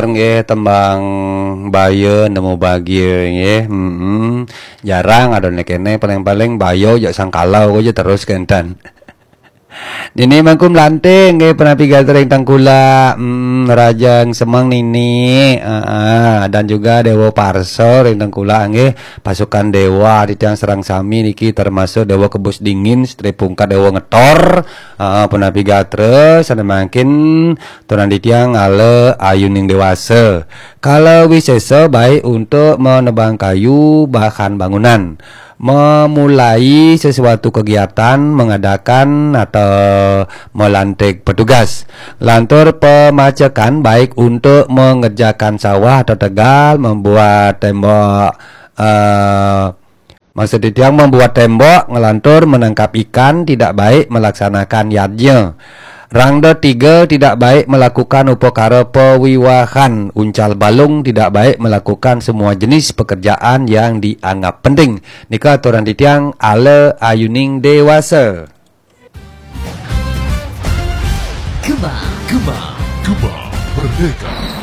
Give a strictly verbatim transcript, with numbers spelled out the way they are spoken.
Nggih, tembang baya nemu bahagia nggih. Mm-mm. Jarang ada nek kene, paling-paling baya jak sangkalau aja terus kenten. Nini mangkum lanting nggih, penapi gatra ring tengkula. Mm, Rajang Semeng Nini. Heeh, dan juga Dewa Parsa ring tengkula nggih, pasukan dewa titiang sareng sami niki termasuk Dewa Kebus Dingin, Setri Pungkat, Dewa Ngetor. Heeh, penapi gatra sane mangkin tunan titiang ala ayuning dewasa. Kala wisesa baik untuk menebang kayu bahan bangunan, memulai sesuatu kegiatan, mengadakan atau melantik petugas. Lantur pemacekan baik untuk mengerjakan sawah atau tegal, membuat tembok, eh, maksud titiang membuat tembok, ngelantur menangkap ikan, tidak baik melaksanakan yadnya. Rangda tiga tidak baik melakukan upakara pewiwahan, uncal balung tidak baik melakukan semua jenis pekerjaan yang dianggap penting. Nika aturan titiang ala ayuning dewasa. Gema, gema, gema merdeka.